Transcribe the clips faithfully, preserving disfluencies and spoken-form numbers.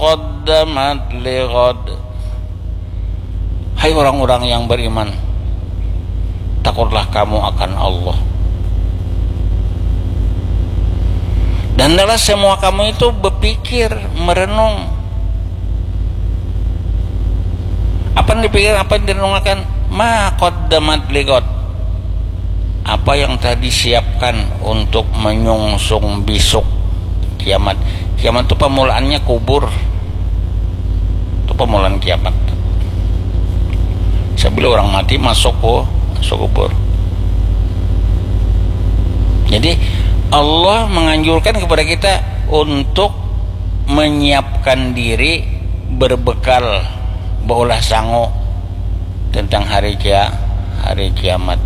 qaddamat lighad. Hai orang-orang yang beriman, takutlah kamu akan Allah. Dan adalah semua kamu itu berpikir, merenung. Apa yang dipikir, apa yang direnungkan? Ma qaddamat lighad. Apa yang telah disiapkan untuk menyungsung besok kiamat. Kiamat itu pemulaannya kubur. Itu pemulaan kiamat. Sebelum orang mati masuk ke masuk kubur. Jadi Allah menganjurkan kepada kita untuk menyiapkan diri berbekal, beolah sangu tentang hari kia hari kiamat.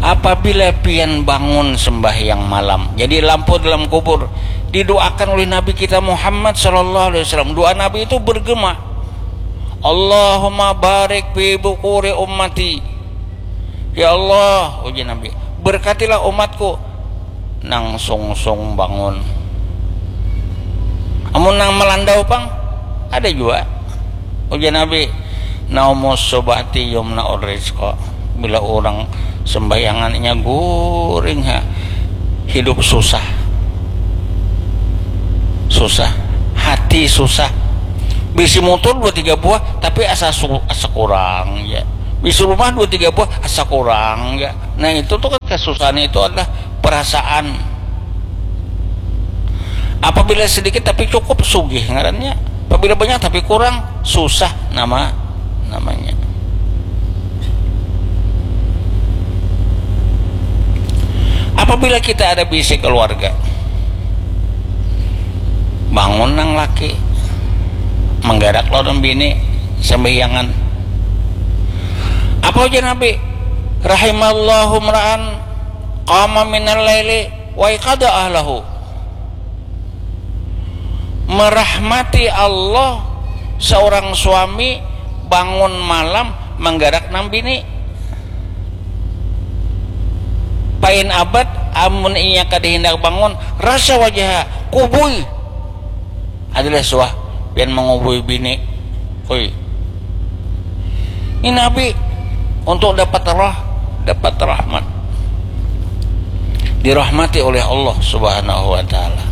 Apabila pian bangun sembahyang malam, jadi lampu dalam kubur, didoakan oleh Nabi kita Muhammad sallallahu alaihi wasallam. Doa Nabi itu bergema, "Allahumma barik fi bukuri ummati." Ya Allah, uji Nabi, berkatilah umatku. Nang sungsung bangun. Amun nang melandau pang, ada jua. Ujar Nabi, "Naumus subahti yumna rizqa." Bila orang sembahyangannya guring ha, hidup susah. Susah. Hati susah. Bisi motor dua tiga buah, tapi asa su, asa kurang ya. Bisi rumah dua tiga buah, asa kurang ya. Nah, itu tuh kan kesusahan itu adalah perasaan. Apabila sedikit tapi cukup, sugih ngarannya. Apabila banyak tapi kurang, susah nama namanya. Apabila kita ada bisi keluarga, bangun nang laki, menggarak lawan bini, sembahyangan. Apa ujar Nabi? "Rahimallahu mra'an qama minal laili wa qada ahlahu." Merahmati Allah seorang suami bangun malam menggarak nang bini. Pain abad, amun inya kada hindak bangun, rasa wajah kubui. Adalah suah pian mengubui bini. Hui. Ini Nabi untuk dapat rah, dapat rahmat. Dirahmati oleh Allah Subhanahu wa taala.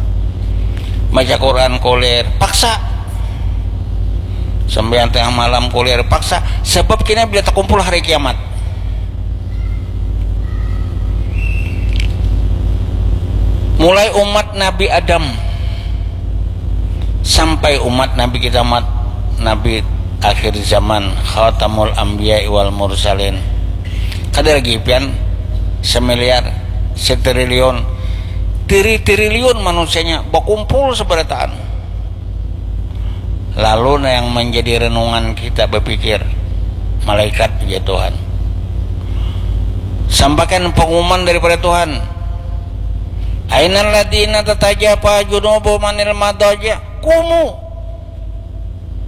Baca Quran kulir, paksa. Sembahyang tengah malam kulir, paksa. Sebab kena bila terkumpul hari kiamat. Mulai umat Nabi Adam sampai umat Nabi kita mat Nabi akhir zaman, khatamul anbiya wal mursalin. Kada lagi pian semiliar, setriliun, tiri-triliun manusianya bakumpul seberataan. Lalu nah yang menjadi renungan kita berpikir, malaikat ya Tuhan. Sampaikan pengumuman daripada Tuhan. Ainal ladina tatajafa junubuhum anil madaja. Kumu.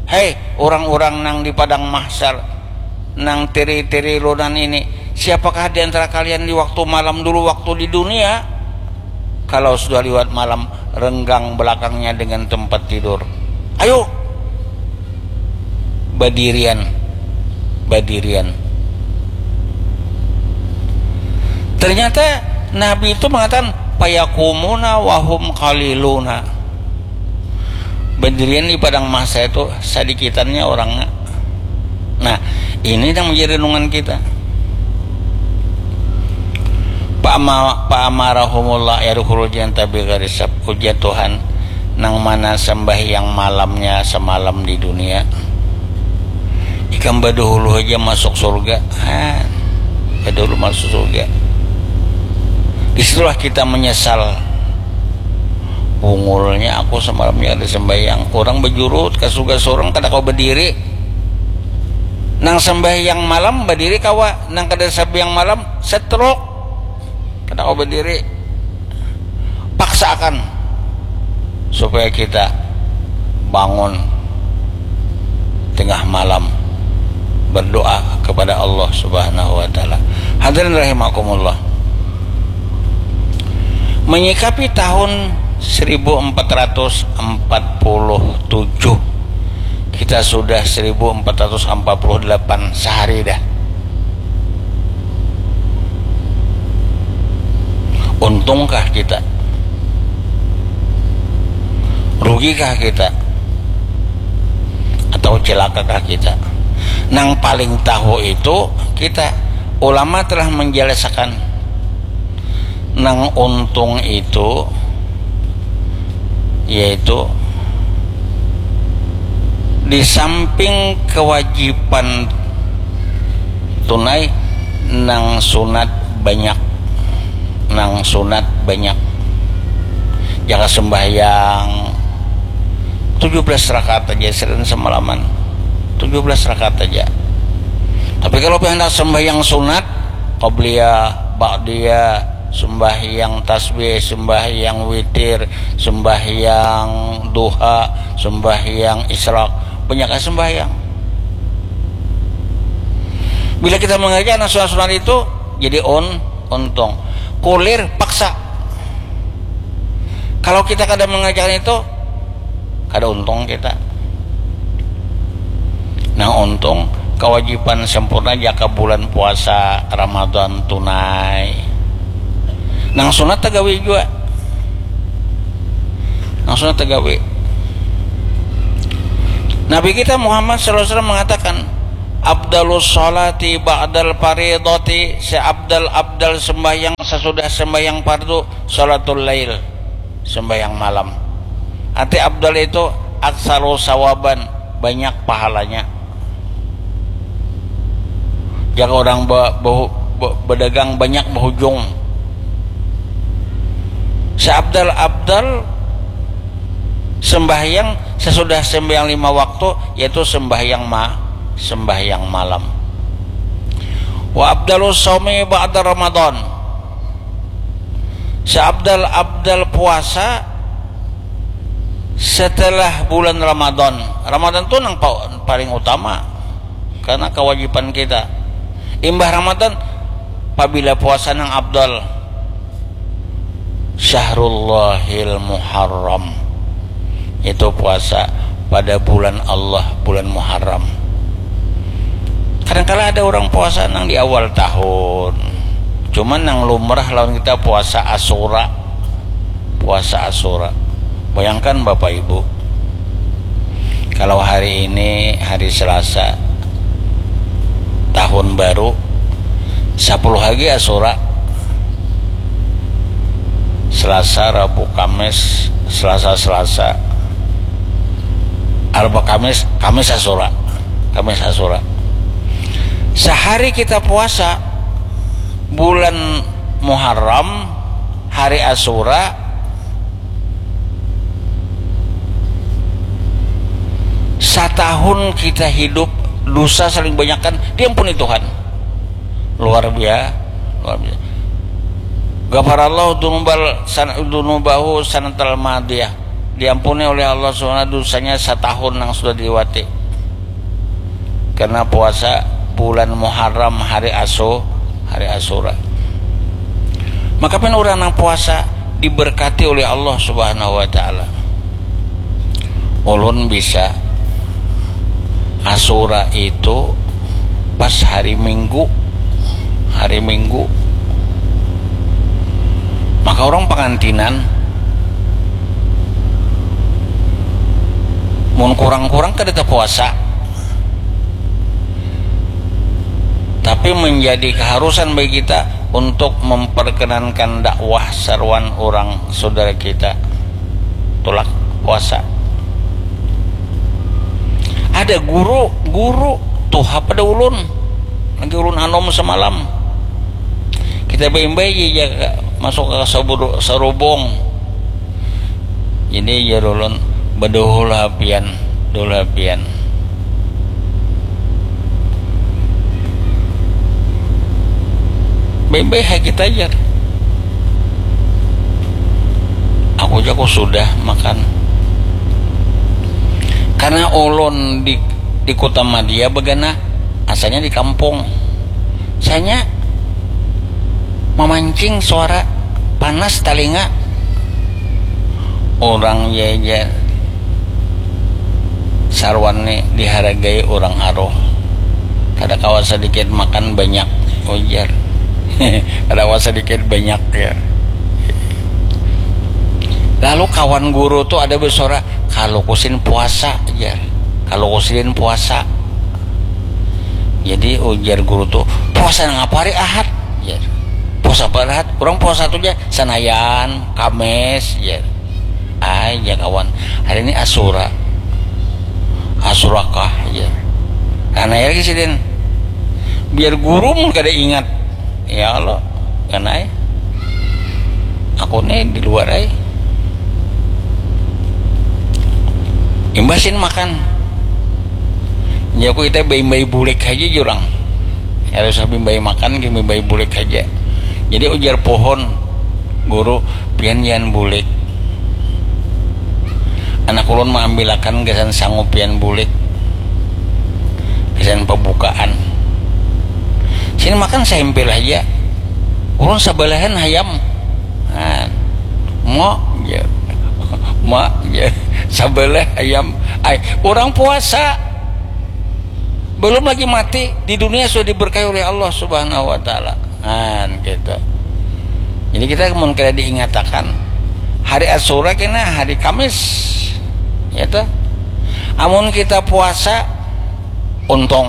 Hei, orang-orang nang di padang mahsyar, nang tiri-tiri lunan ini, siapakah di antara kalian di waktu malam dulu, waktu di dunia, kalau sudah liwat malam, renggang belakangnya dengan tempat tidur? Ayo, badirian, badirian. Ternyata Nabi itu mengatakan, "Fayakumuna wahum qaliluna." Berdirian di padang mahsyar itu sadikitannya orangnya. Nah, ini yang menjadi renungan kita. Pa'ama-, pa'amarahumullah yadkhulul jannata bighairi hisab. Ujar Tuhan, nang mana sembahyang malamnya semalam di dunia, ikam badahulu aja masuk surga. Ha, badahulu masuk surga. Disitulah kita menyesal. Bungulnya aku semalamnya ada sembahyang. Orang bejurut ke surga seorang kada kau berdiri. Nang sembahyang malam berdiri kawa, nang kada sembahyang malam setruk. Kada kau berdiri. Paksakan supaya kita bangun tengah malam berdoa kepada Allah Subhanahu wa taala. Hadirin rahimakumullah. Menyikapi tahun seribu empat ratus empat puluh tujuh Kita sudah seribu empat ratus empat puluh delapan sehari dah. Untungkah kita? Rugikah kita? Atau celakakah kita? Nang paling tahu itu kita. Ulama telah menjelaskan nang untung itu yaitu di samping kewajiban tunai, nang sunat banyak, nang sunat banyak. Jaka sembahyang tujuh belas rakaat aja sehari semalaman, tujuh belas rakaat aja. Tapi kalau hendak sembahyang sunat, qabliyah, ba'diyah, sembahyang tasbih, sembahyang witir, sembahyang duha, sembahyang isyraq, banyak sembahyang. Bila kita mengerjakan sunat-sunat itu, jadi un untung. Kulir paksa. Kalau kita kada mengerjakan itu, kada untung kita. Nah, untung kewajiban sempurna jaka bulan puasa Ramadan tunai. Nang sunat tagawi jua. Nang sunat tagawi. Nabi kita Muhammad sallallahu alaihi wasallam mengatakan, "Abdalus salati ba'dal faridati," seabdal-abdal sembahyang sesudah sembahyang fardu, salatul lail, sembahyang malam. Arti abdal itu aksaru sawaban, banyak pahalanya. Jaka orang ba, ba, ba, badagang banyak bahujung. Seabdal-abdal sembahyang sesudah sembahyang lima waktu, yaitu sembahyang ma, sembahyang malam. Wa abdalus saumi ba'da Ramadan. Seabdal-abdal puasa setelah bulan Ramadan. Ramadan tu nang pa, paling utama karena kewajiban kita. Imbah Ramadan, pabila puasa nang abdal, Syahrullahil Muharram, itu puasa pada bulan Allah, bulan Muharram. Kadangkala ada orang puasa nang di awal tahun, cuman nang lumrah lawan kita puasa Asura. Puasa Asura. Bayangkan Bapak Ibu, kalau hari ini hari Selasa, tahun baru, sepuluh lagi Asura. Selasa, Rabu, Kamis, Selasa, Selasa, Arba, Kamis, Kamis Asura. Kamis Asura. Sehari kita puasa, bulan Muharram, hari Asura, satahun kita hidup, dosa saling banyakkan, diampuni Tuhan. Luar biasa, luar biasa. Ghafarallahu dunubal san-, dunubahu sanatal madiyah. Diampuni oleh Allah Subhanahu dosanya satahun yang sudah dilewati. Karena puasa bulan Muharram, hari Asu, hari Asura. Maka pen orang yang puasa diberkati oleh Allah Subhanahu wa taala. Ulun bisa Asura itu pas hari Minggu, hari Minggu. Maka orang pengantinan mun kurang-kurang kada terpuasa, tapi menjadi keharusan bagi kita untuk memperkenankan dakwah saruan orang saudara kita tulak puasa. Ada guru, guru tuha pada ulun, lagi ulun anom semalam. Kita baimbai ja masuk ke sarubung. Jadi jar ulun, baduhul hapian, duhul hapian. Baimbai ha kita jar. Aku ja ku sudah makan. Karena ulun di, di Kota Madya bagana, asalnya di kampung. Sanya mamancing suara panas talinga. Orang jajar Sarwan ni dihargai urang aruh. Kada kawa sadikit makan banyak, ujar. Kada kawa sadikit banyak, ya. Lalu kawan guru tu ada besuara, "Kaluku sidin puasa," jar. "Kaluku sidin puasa." Jadi ujar guru tu, "Puasa nang apa hari Ahad?" jar. "Puasa apa hari Ahad? Urang puasa tu ja Sanayan, Kamis," jar. "Ai," jar kawan, "hari ini Asura." "Asura kah?" jar. Nah, nanya lagi sidin. Biar guru mun kada ingat. Ya Allah, kan ai. Aku ni di luar ai. Imbah sidin makan. Jaku kita baimbai bulik haja jurang. Harus bimbai makan, bimbai bulik haja. Jadi ujar pohon, "Guru, pian jangan bulik. Anak ulun maambilakan gasan sangu pian bulik. Gasan pabukaan. Sini makan saimpil haja. Ulun sabalahan hayam." Nah, "Ma," jar. "Ma," jar. "Sabalah hayam. Ai, urang puasa. Belum lagi mati, di dunia sudah diberkahi oleh Allah Subhanahu wa Ta'ala." Nah, gitu. Jadi kita mun kada diingatakan, hari Asura kena hari Kamis, ya toh. Amun kita puasa, untung.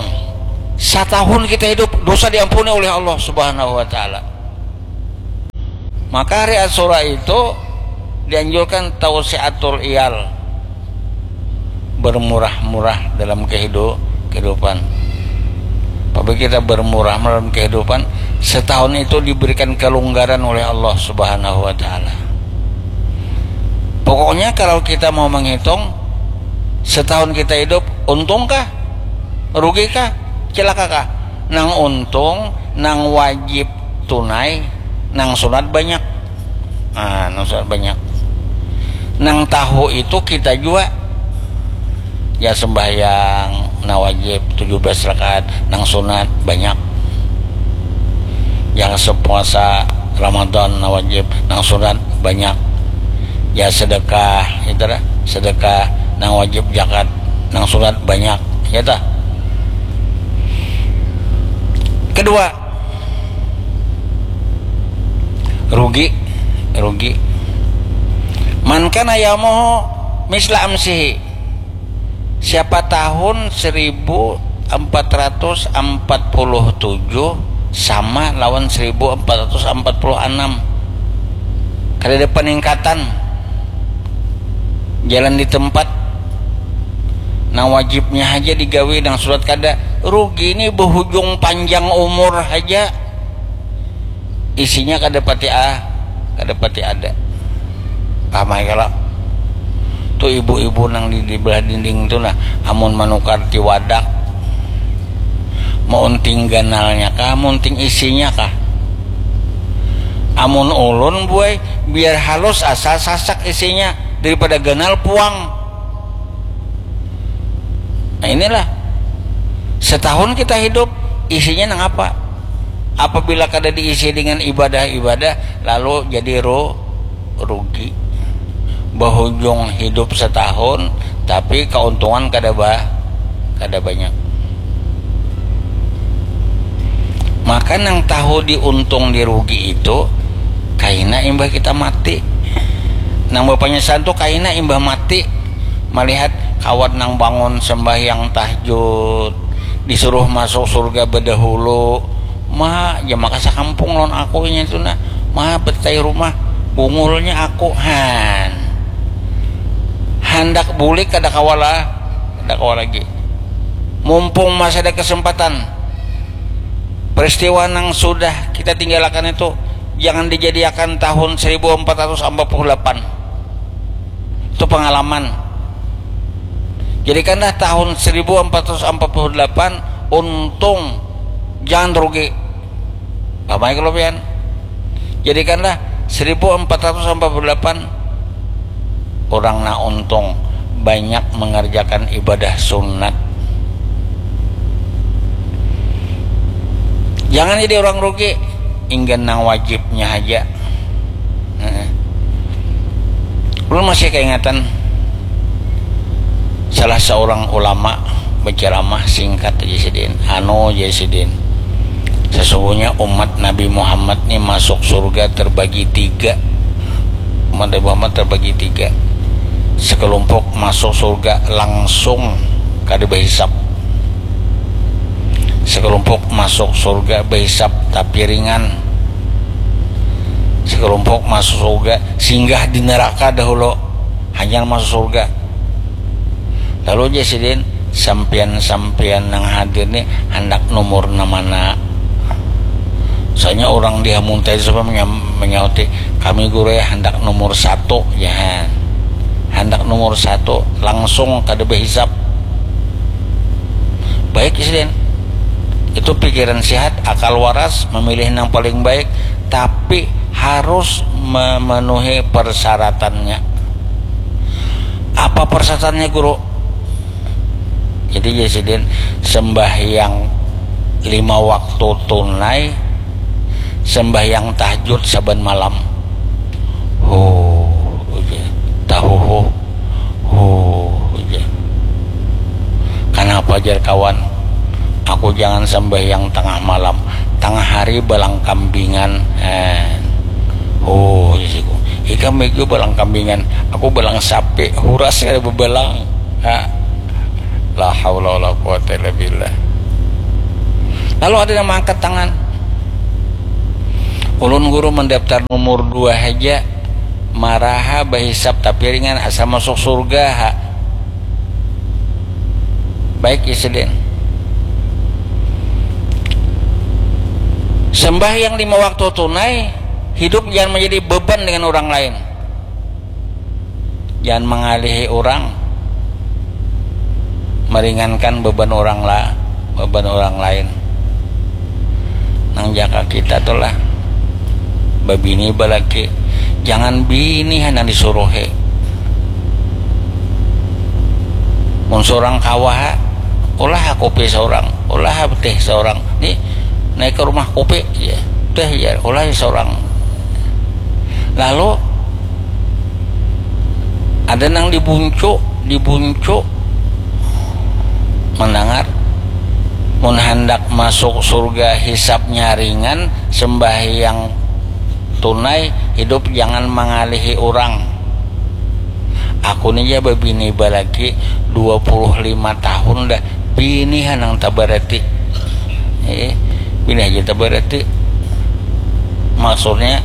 Satahun kita hidup, dosa diampuni oleh Allah Subhanahu wa Ta'ala. Maka hari Asura itu dianjurkan tausiatul iyal, bermurah-murah dalam kehidu-, kehidupan. Apabila kita bermurah dalam kehidupan, setahun itu diberikan kelonggaran oleh Allah Subhanahu wa Ta'ala. Pokoknya, kalau kita mau menghitung, setahun kita hidup, untungkah? Rugikah? Celakakah? Nang untung, nang wajib tunai, nang sunat banyak. Nah, nang sunat banyak. Nang tahu itu kita jua. Ya, sembahyang nang wajib tujuh belas rakaat, nang sunat banyak. Yang sepuasa Ramadan nang wajib, nang sunat banyak. Ya, sedekah, itu lah, sedekah nang wajib, zakat nang sunat banyak, ya tah. Kedua, rugi, rugi. Man kana yaumuhu misla amsihi. Siapa tahun seribu empat ratus empat puluh tujuh sama lawan seribu empat ratus empat puluh enam. Kada ada peningkatan. Jalan di tempat. Nang wajibnya haja digawi, nang sunat kada. Rugi ni, bahujung panjang umur haja. Isinya kada pati, ah, kada pati ada. Paham ai kalo? Tu ibu-ibu nang di, di belah dinding tu nah, amun manukar tiwadak, maunting ganalnya kah, maunting isinya kah? Amun ulun, buai, biar halus asa sasak isinya daripada ganal puang. Nah, inilah, setahun kita hidup, isinya nang apa? Apabila kada diisi dengan ibadah-ibadah, lalu jadi ru-, rugi. Bahujung hidup setahun, tapi keuntungan kada ba-, kada banyak. Maka nang tahu diuntung dirugi itu kaina imbah kita mati. Nang bapanyesalan tu kaina imbah mati. Malihat kawan nang bangun sembahyang tahajud, disuruh masuk surga bedahulu. Ma, ja maka sakampung lawan aku inya tu nah. Ma, betai rumah, bungulnya aku. Han. Handak bulik kada kawa lah, kada kawa lagi. Mumpung masih ada kesempatan, peristiwa nang sudah kita tinggalakan itu jangan dijadiakan tahun seribu empat ratus empat puluh delapan. Itu pengalaman. Jadikanlah tahun seribu empat ratus empat puluh delapan untung, jangan rugi. Paham ai kalo pian? Jadikanlah seribu empat ratus empat puluh delapan urang nang untung, banyak mengerjakan ibadah sunat. Jangan jadi orang rugi, inggan nang wajibnya haja. Heeh. Ulun masih kaingatan, Salah seorang ulama berceramah singkat aja sidin. Anu aja sidin. Sesungguhnya umat Nabi Muhammad ni masuk surga terbagi tiga. Umat Nabi Muhammad terbagi tiga. Sekelompok masuk surga langsung kada berhisap. Sekelompok masuk surga berhisap tapi ringan. Sekelompok masuk surga singgah di neraka dahulu, hanyar masuk surga. Lalu aja sidin, sampian-sampian yang hadir nih hendak nomor mana? Soalnya orang di Hamuntai sampai menyauti, kami guru ya hendak nomor satu ya. Hendak nomor satu langsung kada berhisap. Baik sidin, itu pikiran sehat, akal waras, memilih yang paling baik, tapi harus memenuhi persyaratannya. Apa persyaratannya guru? Jadi ya sidin, sembahyang lima waktu tunai, sembahyang tahajud saban malam. Huh, tahuhu. Huh, jar. Kenapa jar kawan? Aku jangan sembahyang tengah malam, tengah hari balang kambingan. Eh. Oh, isiku. Ikam itu balang kambingan, aku balang sapi, huras kada bebalang. Ha. La haula wala quwata illa billah. Lalu ada yang mengangkat tangan. Ulun guru mendaftar nomor dua aja. Maraha bahisap tapi ringan, asa masuk surga ha. Baik ya sidin. Sembahyang lima waktu tunai, hidup jangan menjadi beban dengan orang lain. Jangan mengalihi orang, meringankan beban orang lah, beban orang lain. Nang jaka kita tuh lah, babini balaki, jangan bini hanang disuruhi. Mun seorang kawa ha, ulah kopi seorang, ulah teh seorang. Ni naik ke rumah kopi ya, teh ya, ulah seorang. Lalu ada nang dibuncu, dibuncu mendengar, mun hendak masuk surga hisapnya ringan, sembahyang tunai, hidup jangan mengalihi orang. Aku ni ya babini balaki dua puluh lima tahun dah, bini hanang tabarati. Eh, bini aja tabarati. Maksudnya,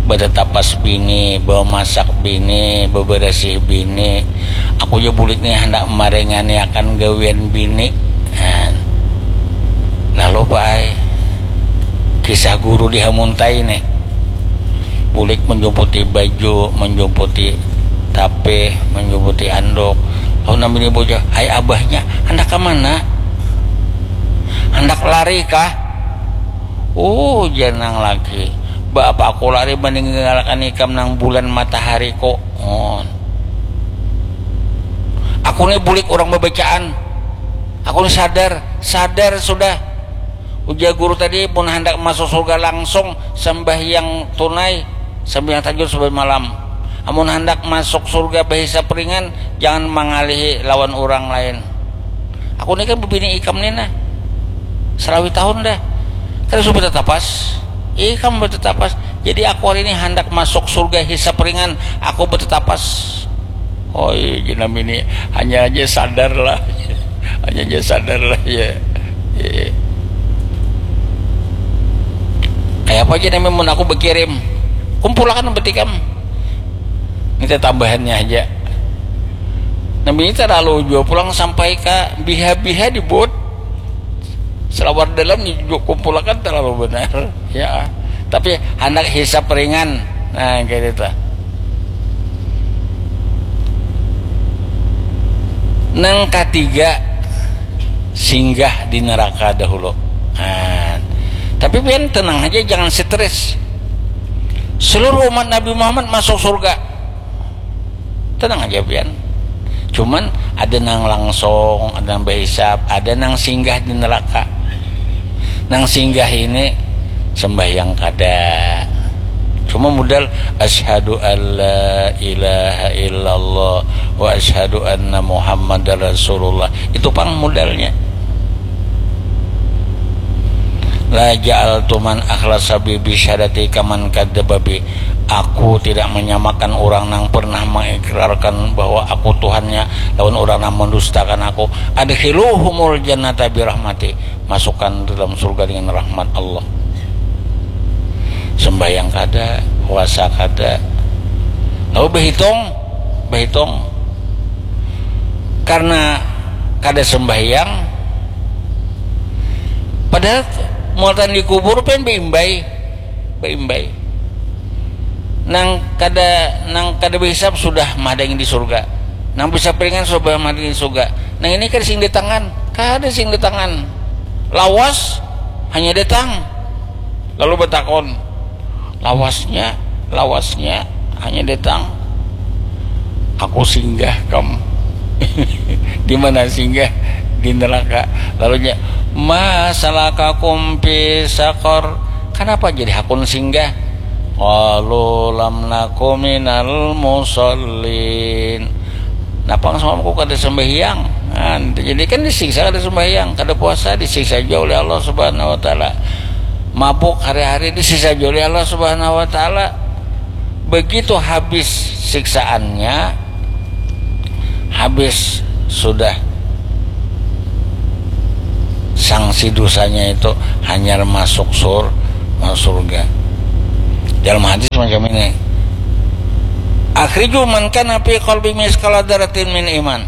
bertetapas bini, bamasak bini, beberasih bini. Aku ja bulik nih hendak maringani akan gawian bini. Nah, lalu paai kisah guru di Hamuntai nih. Bulik menjumputi baju, menjumputi tapih, menjumputi anduk. Lalu nambini bocah, hai abahnya, hendak ke mana? Hendak lari kah? Uh, janang lagi. Ba apa aku lari meninggalkan ikam nang bulan matahari kok. Oh. Aku ni bulik orang babacaan. Aku ni sadar, sadar sudah. Ujar guru tadi, mun handak masuk surga langsung sembahyang tunai, sembahyang tahajud saban malam. Amun handak masuk surga bahisap ringan, jangan mangalihi lawan urang lain. Aku ni kan bebini ikam ni nah, salawi tahun dah, kada suah betetapas. Ikam betetapas. Jadi aku hari ini handak masuk surga hisap ringan, aku betetapas. Oi, jenam ini hanya aja sadar lah. Hanya aja sadar lah ya. Ya. Kayak apa aja namanya mun aku berkirim. Kumpulakan berarti kam. Ini tambahannya aja. Namanya terlalu jua pulang sampai ke biha-biha di bot. Selawar dalam ni juga kumpulakan terlalu benar. Ya. Tapi handak hisap ringan. Nah, kayak itu. Nang ketiga, singgah di neraka dahulu. Nah, tapi pian tenang aja, jangan stres. Seluruh umat Nabi Muhammad masuk surga. Tenang aja pian. Cuman ada nang langsung, ada nang bahisap, ada nang singgah di neraka. Nang singgah ini sembahyang kada, Cuma modal asyhadu alla ilaha illallah wa asyhadu anna Muhammadar Rasulullah. Itu pang modalnya. La ja'altu man akhlasa bi bisyadati kaman kadzdzaba bi. Aku tidak menyamakan orang nang pernah mengikrarkan bahwa aku Tuhannya lawan orang nang mendustakan aku. Adkhiluhumul jannata birahmati. Masukkan dalam surga dengan rahmat Allah. Sembahyang kada, puasa kada. Lalu berhitung, berhitung. Karena kada sembahyang, padahal muatan di kubur pen beimbai, beimbai. Nang kada, nang kada berhisap sudah mahadangi di surga. Nang bisa piringan sudah mahadangi di surga. Nang ini kada sing di tangan, kada sing di tangan. Lawas hanya datang. Lalu bertakon, lawasnya, lawasnya hanya datang. Aku singgah kam. Di mana singgah? Di neraka. Lalunya, masalakakum fi sakor. Kenapa jadi hakun singgah? Qalu lam naku minal musallin. Napa semalam aku kada sembahyang? Nah, jadi kan disiksa kada sembahyang, kada puasa disiksa juga oleh Allah Subhanahu wa taala. Mabuk hari-hari disiksa juga oleh Allah Subhanahu wa taala. Begitu habis siksaannya, habis sudah sanksi dosanya itu hanyar masuk sur masuk surga. Dalam hadis macam ini, akhriju man kana fi qalbi misqala dzarratin min iman.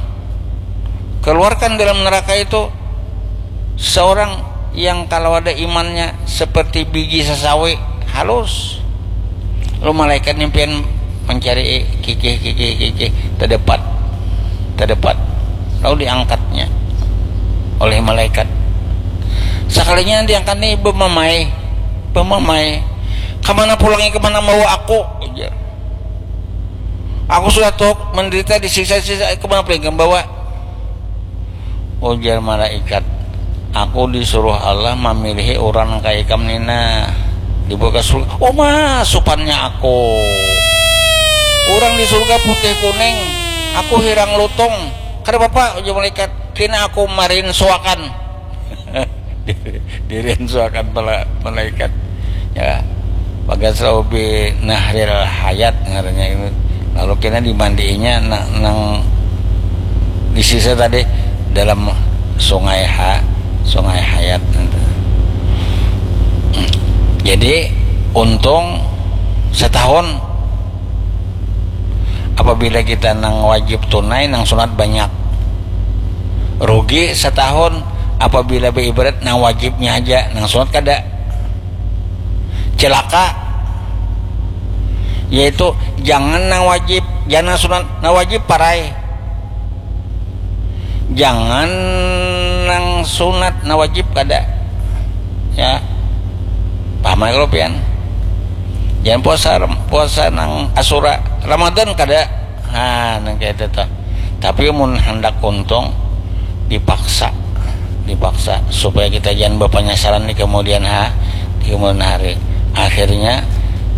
Keluarkan dalam neraka itu seorang yang kalau ada imannya seperti biji sasawi halus. Lalu malaikat nyampian mencari kikih kikih kikih, terdapat, terdapat. Lalu diangkatnya oleh malaikat. Sekalinya diangkat nih, bemamai, bemamai. Kemana pulangnya, kemana bawa aku? Ujar. Aku sudah tuh menderita, disiksa-siksa, kemana pulangnya bawa? Ujar malaikat, aku disuruh Allah memilih orang kayak ikam nina, dibawa ke surga. Oh, masupannya aku. Orang di surga putih kuning, aku hirang lutung. Kada apa-apa, ujar malaikat. Kena aku marin suakan. Dirinsuakan pala malaikat. Ya, bagas lalu bi nahril hayat ngarannya itu. Lalu kena dimandiinya na- nang disisa tadi dalam sungai ha sungai hayat. Jadi untung setahun apabila kita nang wajib tunai, nang sunat banyak. Rugi setahun apabila beribadat nang wajibnya aja, nang sunat kada. Celaka. Yaitu jangan nang wajib, jangan nang sunat, nang wajib parai. Jangan nang sunat, nang wajib kada. Ya. Paham ya kalau pian? Jangan puasa puasa nang asura, Ramadan kada. Ha, nang kayak itu tuh. Tapi mun hendak untung, dipaksa, dipaksa supaya kita jangan berpenyesalan di kemudian ha, di kemudian hari. Akhirnya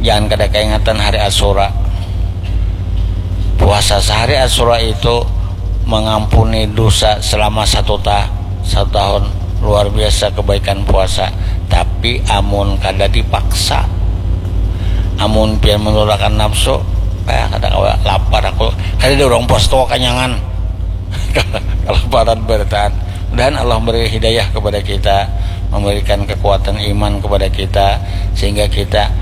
jangan kada keingatan hari Asura. Puasa sehari Asura itu mengampuni dosa selama satu ta satu tahun. Luar biasa kebaikan puasa. Tapi amun kada dipaksa, amun pian menurunkan nafsu, eh, kada kawa lapar aku. Kada ada orang puasa tuh kanyangan. Kelaparan berataan. Mudahan Allah memberi hidayah kepada kita, memberikan kekuatan iman kepada kita, sehingga kita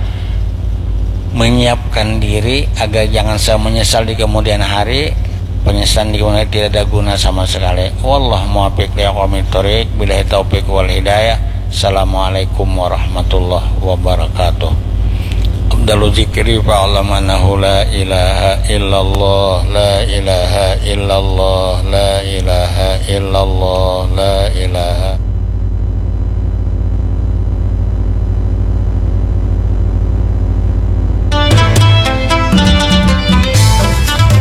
menyiapkan diri agar jangan sampai menyesal di kemudian hari. Penyesalan di kemudian hari tidak ada guna sama sekali. Wallah muwaffiq li aqwamit thoriq. Billahi taufiq wal hidayah. Assalamualaikum warahmatullahi wabarakatuh. Afdalu zikri fa'lam annahu la ilaha illallah, la ilaha illallah, la ilaha illallah, la ilaha.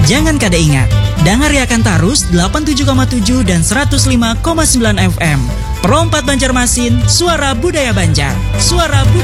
Jangan kada ingat, dangariakan tarus delapan tujuh koma tujuh dan seratus lima koma sembilan F M. Pro empat Banjarmasin, suara budaya Banjar. Suara budaya